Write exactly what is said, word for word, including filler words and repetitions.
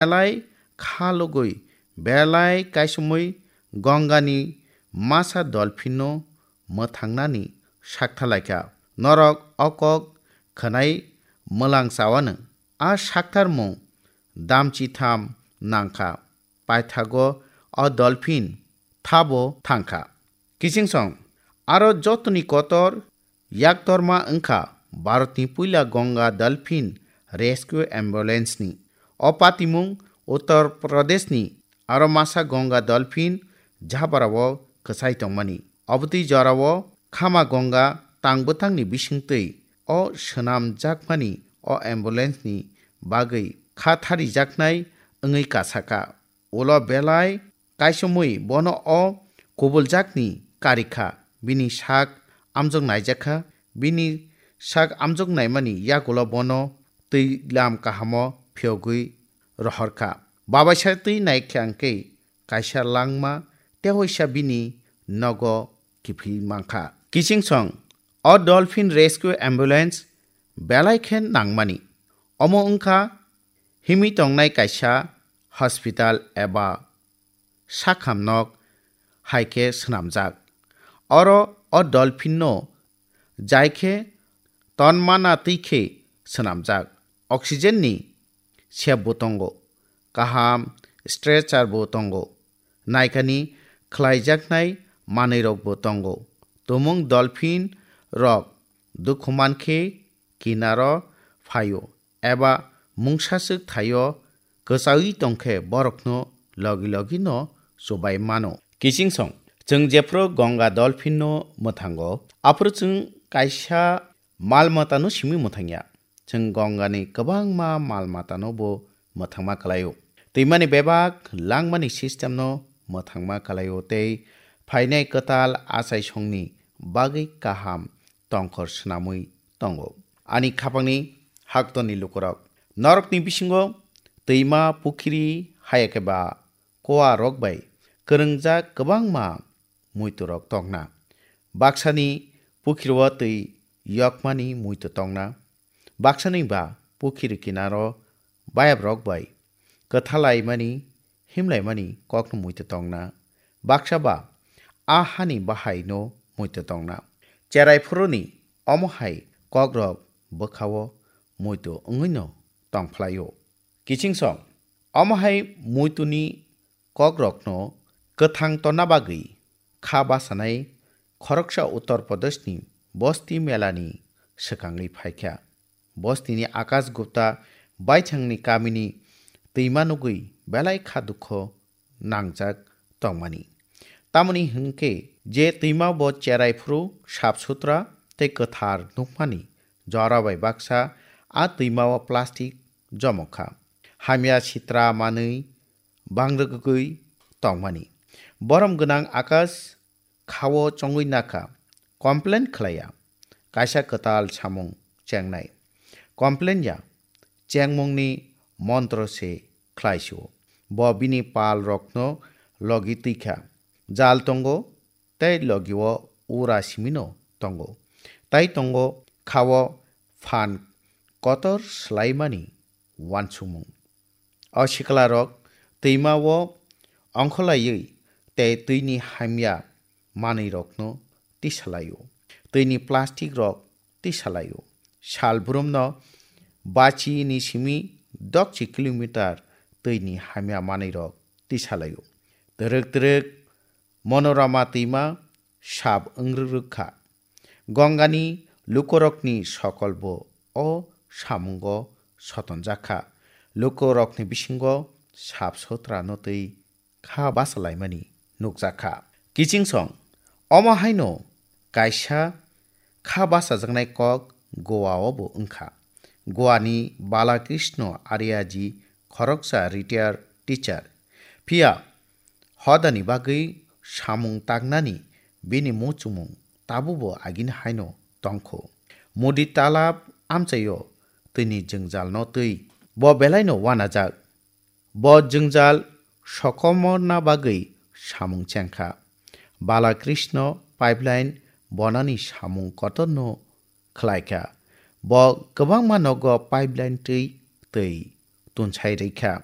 Belai kha lugwi, belai kaisomwi Gongani masa dolphinno mwthangnani saktharlaikha. Norok o kok khwnai mwlang chawano. A saktharmung damchitham nangkha. Paithago o dolphin thabo thangkha. Kichingsong, aro jotoni kotor yaktorma wngkha Bharatni puila Ganga Dolphin Rescue Ambulance ni. O patimung Uttar Pradesh ni aro masa Ganga Dolphin jabarao kwchai tongmani. Obotwi jorao khama Ganga tang bwtangni bisingtwi o swnamjakmani o ambulance ni bagwi kha tharijaknai wngwi kasaka. Ulo belai kaisomwi bono o kubuljakni karikha, bini sak amjok naijakha, bini sak amjok naimani yagulo bono twi lam kahamo phiyogwi rohorkha. Babaisa twi naikha hwnkhe kaisa langma tehoisa bini nogo kiphil mankha. Kichingsong, o Dolphin Rescue Ambulance belai khe nangmani. Omo wngkha himwi tongnai kaisa hospital eba sakhamnok hai khe swnamjak. Oro o dolphinno jai khe tonmana twi khe swnamjak. Oxygenni sepbo tongo, kaham stretcherbo tongo, naikani khlaijaknai manwirokbo tongo. Tumung dolphin rok dukhu mankhe kinaro phaio eba mungsaswk thaio kwchaui tongkhe borokno logi logi no chubai mano. Kichingsong, chwng jephru Ganga dolphin no mwthango, aphuru chwng kaisa mal matano simi mwthangya. Chwng Gongani kwbangma mal matano bo mwthangma kwlaio. Twimani bebak langmani system no mwthangma kwlaio tei phainai kwtal achaisongni bagwi kaham tongkhor swnamwi tongo. Ani khapangni haktorni lukurok, norokni bisingo twima, pukhiri, hayakhe ba koa rok bai kwrwngjak kwbangma muitu rok tongna. Baksani pukhiro twi yokmani muitu tongna. Baksani ba pukhiri kinaro bayabrok bai kwthalaimani, himlaimani kokno muitu tongna. Baksa ba a hani bahaino muitu tongna. Cherai phuruni omo hai kokrok bwkhao muitu wngwino tongphlaio. Kichingsong, omo hai muituni kokrokno kwthang tonna bagwi kha basanai khoroksa Uttar Pradeshni Bosti melani swkangwi phaikha. Bostini Akash Gupta baithangni kamini twima nugwi belai kha dukho nangjak tongmani. Tamoni hwnkhe je twima bo cherai phuru sap sutra tei kwthar nukmani jora bai baksa a twima o plastic jomokha. Hamya sitra manwi bangrwgwi tongmani. Borom gwnang Akash khao chongwi nakha, complain khlaiya, kaisa kwtal samung chengnai. Complain ya, chengmungni montro se khlaisio. Bo bini pal rokno logi twikha. Jal tongo, tei logio ura simino tongo. Tai tongo khao phan kotor swlaimani uansukmung. O siklarok twima o ongkholaiwi tei twini hamya manwirokno tisalaio. Twini plastic rok tisalaio. Sal brumno bachi ni simi dokchi kilometer twini hamya manwirok tisalaio. Twrwk twrwk Monorama twima sap wngrwk rwkha. Gongani lukurokni sokolbo o samungo sotonjakha. Lukurokni bisingo sap sotrano twi kha basalaimani nukjakha. Kichingsong, omo haino kaisa kha basajaknai kok Goa o bo wngkha. Goa ni Balakrishna Aryaji khoroksa retired teacher. Phiya hodani bagwi samung tangnani bini muchungmung tabukbo agini haino tongkho. Mudi talab amchaio twini jwngjalno twi bo belaino uanajak. Bo jwngjal sokomorna bagwi samung chengkha. Balakrishna pipeline bonani samung kotorno khlaikha. Bo kwbangma nogo pipeline twi twi tunsai rwkha.